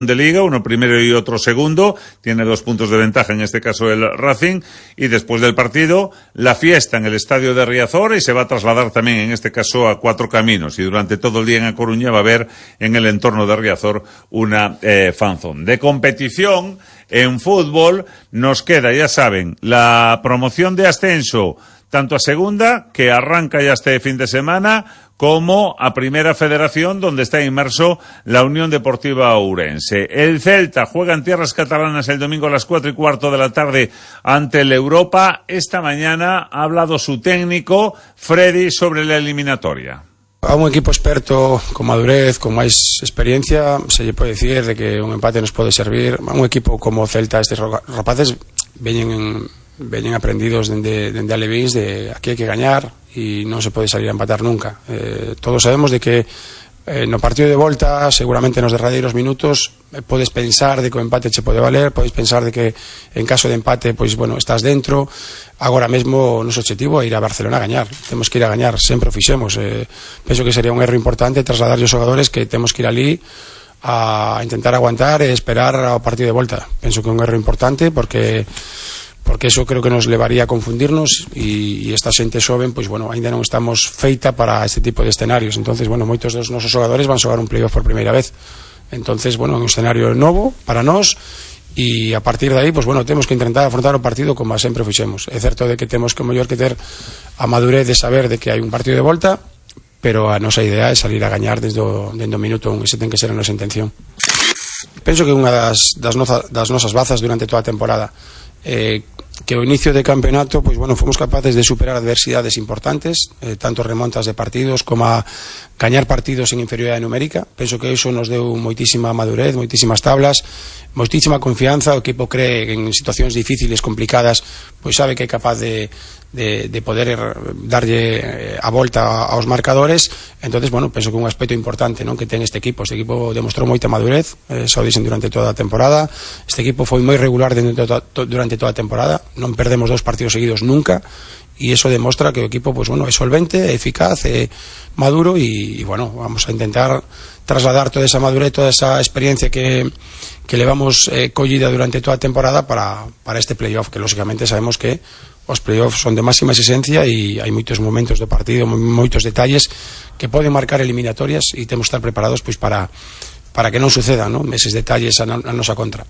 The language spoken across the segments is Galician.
de Liga, uno primero y otro segundo, tiene 2 puntos de ventaja, en este caso el Racing, y después del partido, la fiesta en el estadio de Riazor, y se va a trasladar también, en este caso, a Cuatro Caminos, y durante todo el día en A Coruña va a haber en el entorno de Riazor una fanzón. De competición, en fútbol, nos queda, ya saben, la promoción de ascenso, tanto a segunda, que arranca ya este fin de semana, como a Primera Federación, donde está inmerso la Unión Deportiva Ourense. El Celta juega en tierras catalanas el domingo a las 4:15 de la tarde ante el Europa. Esta mañana ha hablado su técnico, Freddy, sobre la eliminatoria. A un equipo experto, con madurez, con máis experiencia, se lle pode decir de que un empate nos pode servir. A un equipo como Celta, estes rapaces veñen aprendidos dende Alevíns de aquí hai que gañar e non se pode salir a empatar nunca. Todos sabemos de que no partido de volta, seguramente nos derradeiros minutos, podes pensar de que o empate che pode valer, podes pensar de que en caso de empate, pois bueno, estás dentro. Agora mesmo o noso objetivo é ir a Barcelona a gañar, temos que ir a gañar, sempre o fixemos. Penso que sería un erro importante trasladar aos xogadores que temos que ir ali a intentar aguantar e esperar ao partido de volta. Penso que é un erro importante porque eso creo que nos levaría a confundirnos e esta xente xoven, pois bueno, ainda non estamos feita para este tipo de escenarios. Entonces, bueno, moitos dos nosos xogadores van xogar un playoff por primeira vez. Entonces, bueno, é un escenario novo para nós e a partir de aí, pois bueno, temos que intentar afrontar o partido como sempre fixemos. É certo de que temos que mellor que ter a madurez de saber de que hai un partido de volta, pero a nosa idea é salir a gañar desde o minuto 1, ese ten que ser a nosa intención. Penso que unha das nosas bazas durante toda a temporada que o inicio de campeonato, pois bueno, fomos capaces de superar adversidades importantes, tanto remontas de partidos como a gañar partidos en inferioridade numérica. Penso que iso nos deu moitísima madurez, moitísimas tablas, moitísima confianza. O equipo cree que en situacións difíciles, complicadas, pois sabe que é capaz de poder darlle a volta aos marcadores. Entonces, bueno, penso que un aspecto importante, non, que ten este equipo demostrou moita madurez, xa o dixen durante toda a temporada. Este equipo foi moi regular durante toda a temporada, non perdemos 2 partidos seguidos nunca, e iso demostra que o equipo, pues bueno, é solvente, é eficaz, é maduro, e bueno, vamos a intentar trasladar toda esa madurez, toda esa experiencia que levamos collida durante toda a temporada para este playoff, que lógicamente sabemos que os playoffs son de máxima exigencia e hai moitos momentos do partido, moitos detalles que poden marcar eliminatorias, e temos que estar preparados pois para que non sucedan, ¿no?, eses detalles a nosa contra.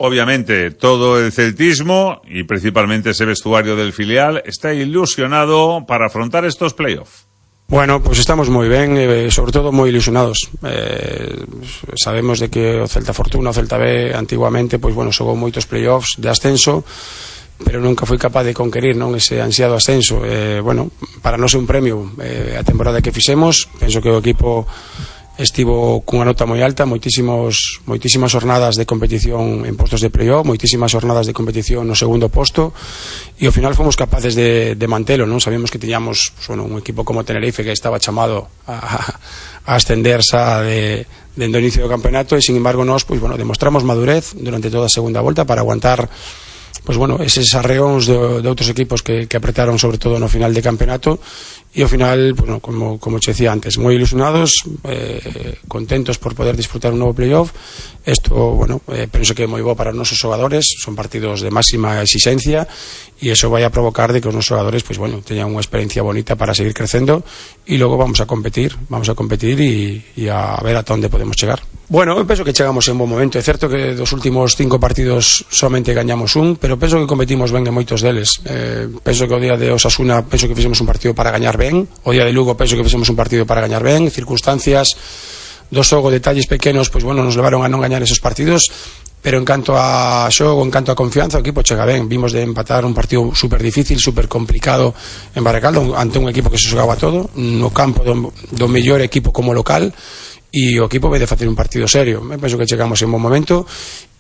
Obviamente, todo el celtismo y principalmente ese vestuario del filial está ilusionado para afrontar estos playoffs. Bueno, pues estamos moi ben, sobre todo moi ilusionados. Sabemos de que o Celta Fortuna, o Celta B, antiguamente, pois bueno, xogou moitos playoffs de ascenso, pero nunca foi capaz de conquerir, non, ese ansiado ascenso. Bueno, para nós é un premio a temporada que fixemos. Penso que o equipo estivo cunha nota moi alta, moitísimas jornadas de competición en postos de playoff, moitísimas jornadas de competición no segundo posto, e ao final fomos capaces de mantelo, non? Sabíamos que tiñamos, bueno, un equipo como Tenerife que estaba chamado a ascender xa dende o inicio do campeonato, e sin embargo nós, pois bueno, demostramos madurez durante toda a segunda volta para aguantar, pois bueno, eses arreóns de outros equipos que apretaron sobre todo no final de campeonato, e ao final, bueno, como che decía antes, moi ilusionados, contentos por poder disfrutar un novo playoff. Isto, bueno, penso que é moi bo para os nosos xogadores, son partidos de máxima exigencia, e iso vai a provocar de que os nosos xogadores, pois bueno, teñan unha experiencia bonita para seguir crecendo, e logo vamos a competir e a ver ata onde podemos chegar. Bueno, eu penso que chegamos en bon momento. É certo que dos últimos 5 partidos somente gañamos un, pero penso que competimos ben en moitos deles. Penso que o día de Osasuna penso que fixemos un partido para gañar ben, o día de Lugo penso que fixemos un partido para gañar ben, circunstancias do xogo, detalles pequenos, pois bueno, nos levaron a non gañar esos partidos, pero en canto a xogo, en canto a confianza, o equipo chega ben. Vimos de empatar un partido super difícil, super complicado en Baracaldo, ante un equipo que se xogaba todo no campo do mellor equipo como local, e o equipo vai de facer un partido serio. Penso que chegamos en bon momento,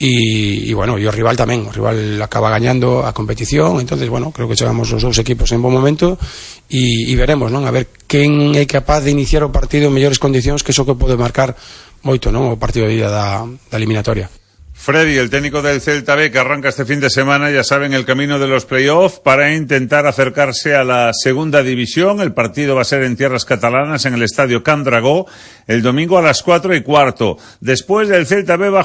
e bueno, e o rival tamén, o rival acaba gañando a competición. Entonces, bueno, creo que chegamos os dous equipos en bon momento, e veremos, non, a ver quen é capaz de iniciar o partido en mellores condicións, que iso que pode marcar moito, non, o partido de ida da eliminatoria. Freddy, el técnico del Celta B, que arranca este fin de semana, ya saben, el camino de los playoffs para intentar acercarse a la segunda división. El partido va a ser en tierras catalanas, en el estadio Can Dragó, el domingo a las 4:15. Después del Celta B va a